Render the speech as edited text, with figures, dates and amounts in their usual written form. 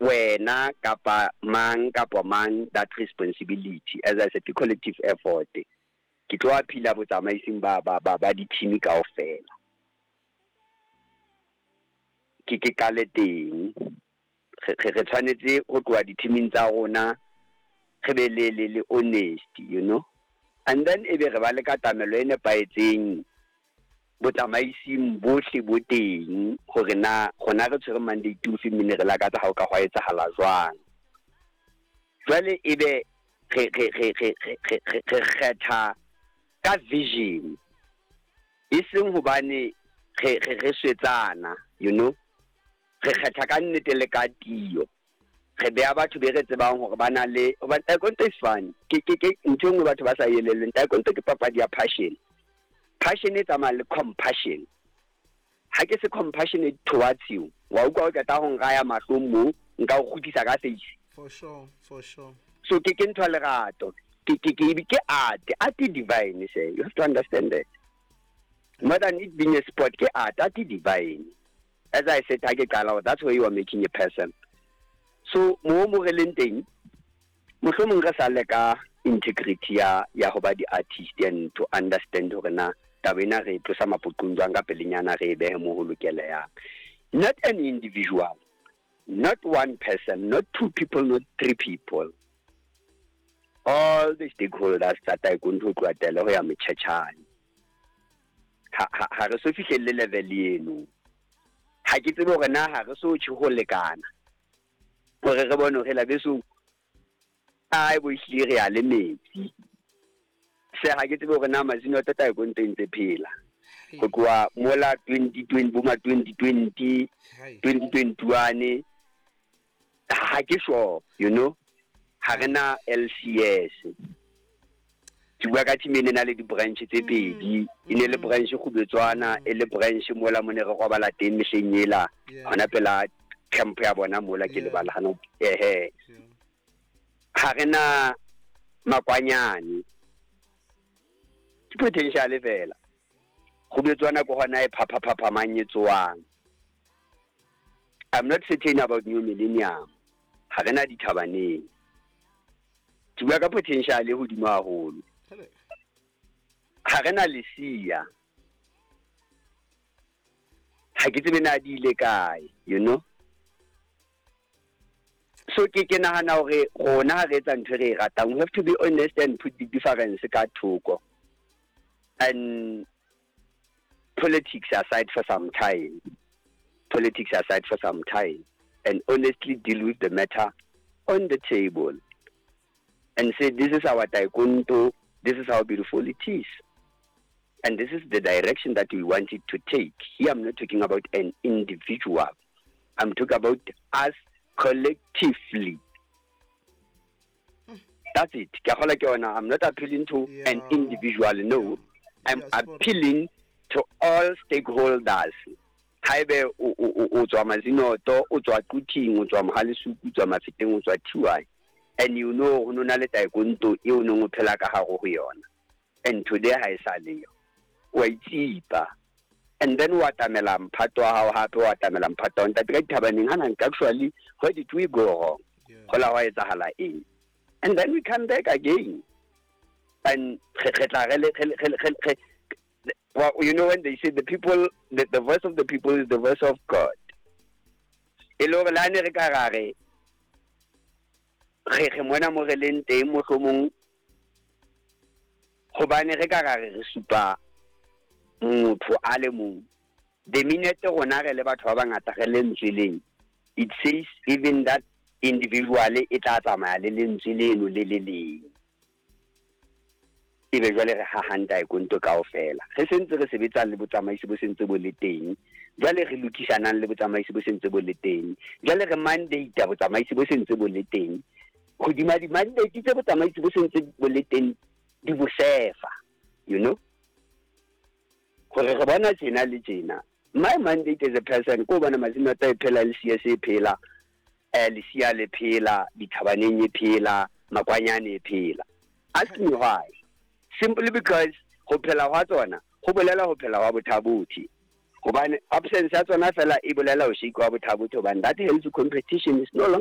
Wena kapa mang kapa mang that responsibility. As I said, ke collective effort. Ke tlo appeal-a botsamaising ba di-team kaofela. Ke qale teng. Re tshwanetse ho tloha di-teaming tsa rona, re be le honesty. And then ebe re ba le katamelo e nepahetseng botsamaising bohle bo teng, hore na rona re tshwere mandate ofe, mme ne re lakatsa ha o ka hwa etsahala jwang. Jwale ebe re kgetha ka vision, e seng hobane re swetsana. Re kgetha ka nnete le ka tiyo, re beha batho be re tsebang hore ba na le, hobane taekwondo is fun. Ke ntho e nngwe batho ba sa elellweng. Taekwondo ke papadi ya passion. Passion e tsamaya le compassion. Ha ke se compassionate towards you, wa utlwa, o qeta ho nraya mahlong mo, nka o kgutlisa ka face. For sure, for sure. So ke ntho ya lerato, ke art divine. Say you have to understand that more than it being a sport, ke art divine. As I said ha ke qala, that's where you are making a person. So mo re leng teng, mohlomong re sa le ka integrity ya ho ba di-artist and to understand hore na taba ena re e tlosa mapoqong jwang ka pelenyana, re e behe mo ho lokelehang. Not an individual, not one person, not two people, not three people, all the stakeholders tsa taekwondo, ho tloha tele ho ya motjhetjhane. Ha re so fihlelle level eno. Ha ke tsebe hore na ha re so tjhe ho lekana hore re bone hore la beso ai bo ehlile re ya le metsi se. Ha ke tsebe hore na Mazinoto taekwondo e ntse phela ho tloha mola 2020, bo ma 2020, 2021, ha ke sure. Ha re na LCS. Ke bua ka team e ne na le di-branch tse pedi, e ne le branch Kgubetswana, e le branch mola mo ne re robala teng mehleng ela, hona pela camp ya bona mola ke lebala hana ehe. Ha re na Makwanyane, ke potential fela. Kgubetswana ke hona e phapha-phaphamang e tsoang. I'm not certain about New Millennium. Ha re na Dithabaneng. Ke bua ka potential e hodimo haholo. Hele. Ha re na Lesia. Ha ke tsebe na di ile kae. So ke nahana hore rona ha re etsa ntho e re e ratang, we have to be honest and put the difference ka thoko and politics aside for some time. Politics aside for some time and honestly deal with the matter on the table and say, "This is our taekwondo, this is how beautiful it is, and this is the direction that we want it to take." Here I'm not talking about an individual, I'm talking about us collectively. That's it. Ke a kgolwa ke yona. I'm not appealing to an individual, no. I'm Yeah, spot on. Appealing to all stakeholders. Haebe o tswa Mazinoto, o tswa Quthing, o tswa Mohalesuku, o tswa Mafeteng, o tswa TY, and you know ho no na le taekwondo eo o neng o phela ka hare ho yona, and today ha e sa leyo, wa itsipa and then wa atamela mphato wa hao, hape wa atamela mphato wa ntate ka Dithabaneng hana. Actually, where did we go wrong? Ho la hwa etsahala eng? And then we come back again and re tla re le re well, you know when they say the voice of the people is the voice of God, e le hore le ha ne re ka ra re mona mo re leng teng, mohlomong hobane re ka ra re supa motho a le mong, the minute rona re le batho ba bangata re lentswe leng, it says even that individual e tla tsamaya le lentswe leno le le leng. Ebe jwale re hahang taekwondo kaofela, re sentse re sebetsa le botsamaisi bo sentse bo le teng, jwale re lokisanang le botsamaisi bo sentse bo le teng, jwale re mandate botsamaisi bo sentse bo le teng hodima di-mandate tse botsamaisi bo sentse bo le teng di bo sefa, hore re bona tjena le tjena. My mandate as a person ko bona Mazinoto e phela, le CS e phela, Lesia le phela, Dithabaneng e phela, Makwanyane e phela. Ask me why. Simply because ho phela hwa tsona ho bolela ho phela hwa Bothabothi, hobane absence ya tsona fela e bolela ho shake wa Bothabothi, hobane that healthy competition is no longer.